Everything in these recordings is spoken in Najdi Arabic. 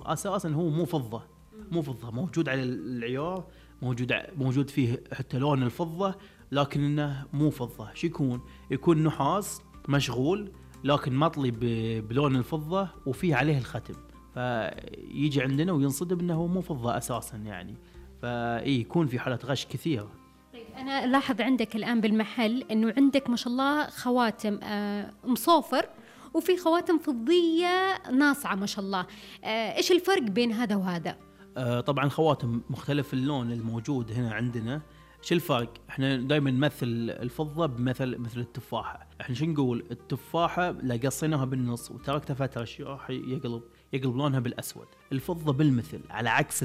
أساسا هو مو فضة، مو فضة، موجود على العيار، موجود فيه حتى لون الفضة، لكن إنه مو فضة. شو يكون نحاس مشغول لكن مطلي بلون الفضة وفيه عليه الختم، فيجي عندنا وينصدم إنه هو مو فضة أساسا يعني. فإيه يكون في حالة غش كثيرة. طيب أنا لاحظ عندك الآن بالمحل إنه عندك ما شاء الله خواتم مصوفر، وفي خواتم فضية ناصعة ما شاء الله. إيش الفرق بين هذا وهذا؟ طبعا خواتم مختلف اللون الموجود هنا عندنا. شو الفرق؟ احنا دائما نمثل الفضة مثل التفاحة. احنا شو نقول؟ التفاحة لا قصيناها بالنص وتركتها فترة راح يقلب لونها بالأسود. الفضة بالمثل، على عكس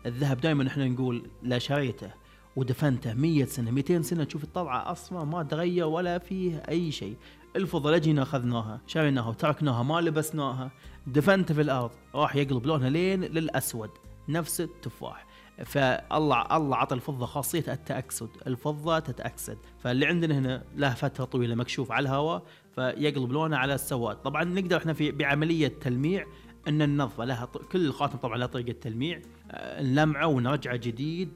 الذهب دائما احنا نقول لا شريته ودفنته 100 سنة 200 سنة تشوف الطلعة أصلا ما تغير ولا فيه أي شيء. الفضة لجينا أخذناها شريناها وتركناها ما لبسناها دفنتها في الأرض راح يقلب لونها لين للأسود نفس التفاح. فالله عطى الفضة خاصية التأكسد، الفضة تتأكسد. فاللي عندنا هنا له فترة طويلة مكشوف على الهواء فيقلب لونه على السواد. طبعا نقدر احنا بعملية تلميع ان النظفة لها كل خاتم طبعا له طريقة تلميع، نلمعه ونرجعه جديد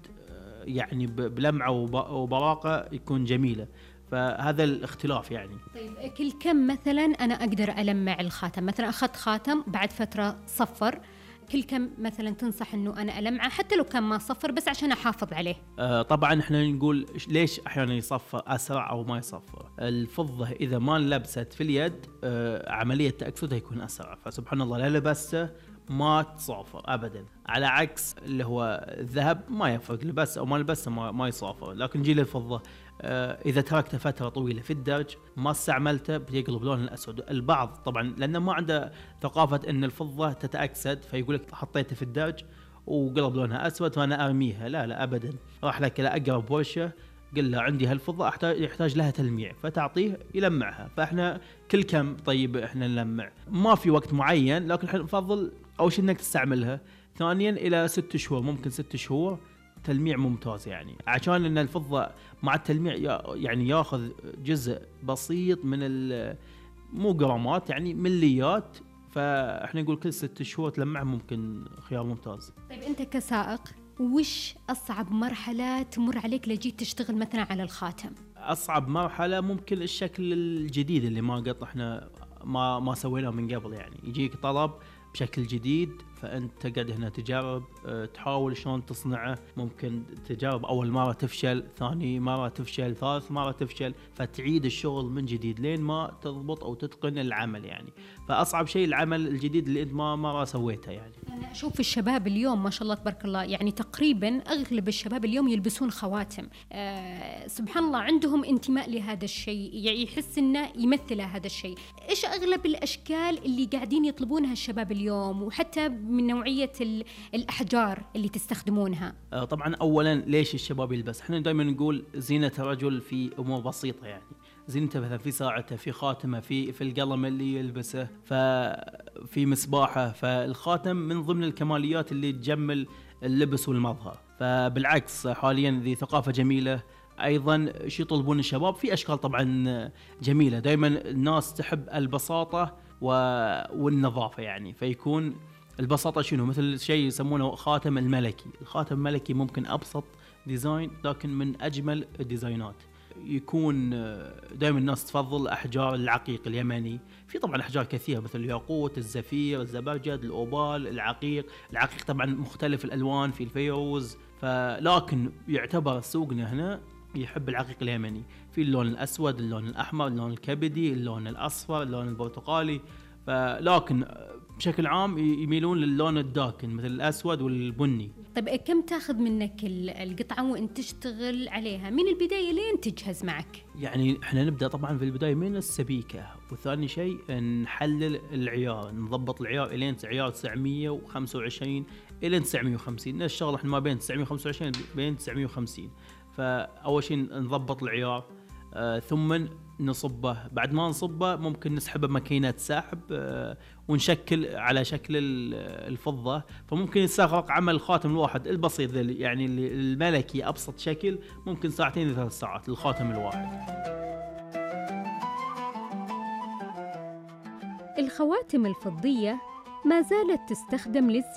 يعني بلمعة وبراقة يكون جميلة. فهذا الاختلاف يعني. طيب كل كم مثلا أنا أقدر ألمع الخاتم؟ مثلا أخذت خاتم بعد فترة صفر، كل كم مثلا تنصح إنه أنا ألمعه حتى لو كان ما صفر بس عشان أحافظ عليه؟ طبعا احنا نقول ليش أحيانا يصفر أسرع أو ما يصفر. الفضة إذا ما لبست في اليد عملية تأكسدها يكون أسرع، فسبحان الله لا لبسته ما تصافر أبدا. على عكس اللي هو الذهب ما يفرق لبس أو ما لبسه ما يصافر. لكن جيل الفضة إذا تركته فترة طويلة في الدرج ما استعملته بيقلب لون الأسود. البعض طبعا لأنه ما عنده ثقافة أن الفضة تتأكسد فيقولك حطيته في الدرج وقلب لونها أسود فأنا أرميها. لا أبدا، راح لك إلى أقرب ورشة قل له عندي هالفضة يحتاج لها تلميع فتعطيه يلمعها. فإحنا كل كم طيب إحنا نلمع، ما في وقت معين، لكن إحنا نفضل أول شيء إنك تستعملها. ثانيا إلى 6 شهور، ممكن 6 شهور تلميع ممتاز يعني، عشان إن الفضة مع التلميع يعني ياخذ جزء بسيط من مو جرامات يعني مليات. فإحنا نقول كل 6 شهور تلمع ممكن خيار ممتاز. طيب أنت كسائق وش أصعب مرحلة تمر عليك لجيت تشتغل مثلا على الخاتم؟ أصعب مرحلة ممكن الشكل الجديد اللي ما سويناه من قبل. يعني يجيك طلب بشكل جديد فأنت تقعد هنا تجرب تحاول شلون تصنعه. ممكن تجرب أول مرة تفشل، ثاني مرة تفشل، ثالث مرة تفشل، فتعيد الشغل من جديد لين ما تضبط أو تتقن العمل يعني. فأصعب شيء العمل الجديد اللي أنت ما مرة سويته يعني. أنا أشوف الشباب اليوم ما شاء الله تبارك الله يعني تقريبا أغلب الشباب اليوم يلبسون خواتم. سبحان الله عندهم انتماء لهذا الشيء، يعني يحس إنه يمثل هذا الشيء. إيش أغلب الأشكال اللي قاعدين يطلبونها الشباب اليوم، وحتى من نوعية الأحجار اللي تستخدمونها؟ طبعا أولا ليش الشباب يلبس؟ احنا دائما نقول زينة الرجل في أمور بسيطة يعني، زينته مثلا في ساعته، في خاتمه، في القلم اللي يلبسه، ففي مصباحه. فالخاتم من ضمن الكماليات اللي تجمل اللبس والمظهر. فبالعكس حاليا ذي ثقافة جميلة. أيضا شو يطلبون الشباب؟ في أشكال طبعا جميلة. دائما الناس تحب البساطة والنظافة يعني. فيكون البساطة شنو؟ مثل شيء يسمونه خاتم الملكي. الخاتم الملكي ممكن أبسط ديزاين لكن من أجمل الديزاينات. يكون دائما الناس تفضل أحجار العقيق اليمني. في طبعا أحجار كثيرة مثل الياقوت، الزفير، الزبرجد، الأوبال، العقيق طبعا مختلف الألوان، في الفيروز. لكن يعتبر سوقنا هنا يحب العقيق اليمني، في اللون الأسود، اللون الأحمر، اللون الكبدي، اللون الأصفر، اللون البرتقالي. لكن بشكل عام يميلون للون الداكن مثل الأسود والبني. طيب كم تاخذ منك القطعة وانت تشتغل عليها من البداية لين تجهز معك؟ يعني احنا نبدأ طبعا في البداية من السبيكة، وثاني شيء نحلل العيار، نضبط العيار إلين عيار 925 إلى 950. الشغل احنا ما بين 925 بين 950. فأول شيء نضبط العيار، ثم نصبه. بعد ما نصبه ممكن نسحبه بماكينة سحب ونشكل على شكل الفضة. فممكن يستغرق عمل الخاتم الواحد البسيط يعني الملكي أبسط شكل ممكن 2 إلى 3 ساعات للخاتم الواحد. الخواتم الفضية ما زالت تستخدم للزينة.